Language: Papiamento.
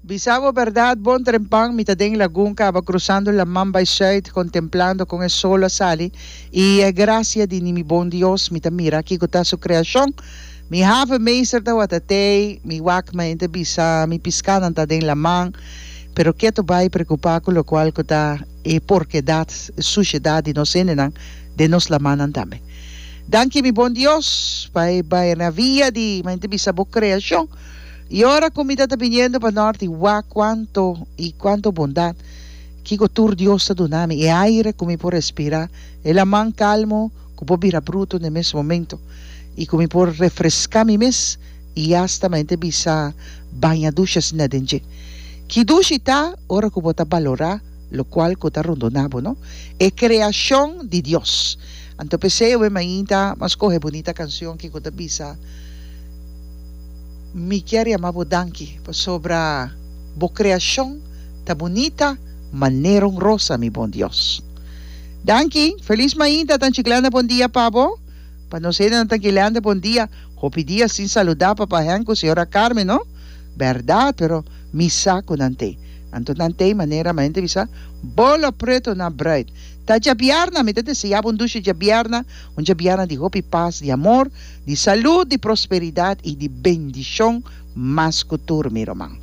Bisa bo berdad bon trempan mi ta den lagun caba cruzando laman bay zuid contemplando con e sol a sali y e gracia di ni mi bon Dios mi ta mira kico ta su creacion mi havenmeester tawata tey mi wak ma hende bisa mi piscanan ta den laman pero keto bay preocupa cu locual cu ta e porkedad e sushedad di nos hendenan den nos lamannan tambe danki mi bon Dios pa e maravilla di ma hende bisa bo creacion. I ora ku mi ta ta biniendo pa nort i wak kuantu i kuantu bondat kiko tur Dios ta duna mi, e aire ku mi por respirá, e laman kalmo ku por bira brutu na e mes momento i ku mi por refreská mi mes i asta mente bisa baña dushi asina den dje. Ki dushi ta ora ku bo ta balorá lokual ku ta rondoná bo, no? E kreashon di Dios. Anto p'esei awe mainta m'a skohe bunita kanshon ki ku ta bisa. Mi kier yama bo danki pasobra bo creacion ta bunita manera un rosa mi bon Dios. Danki, feliz mainta Tanchi Glenda bon dia pa bo, pa nos hendenan Tanchi Glenda bon dia, hopi dia sin saluda papa Henk cu señora Carmen no, berdad pero mi sa cu nan tey, anto nan tey manera mi hende bisa bolo preto na bruid. Ta djabièrnè, mi ta deseá bo un dushi djabièrnè, un djabièrnè di hopi pas, di amor, di salud, di prosperidat i di bendishon mas ku tur, mi ruman.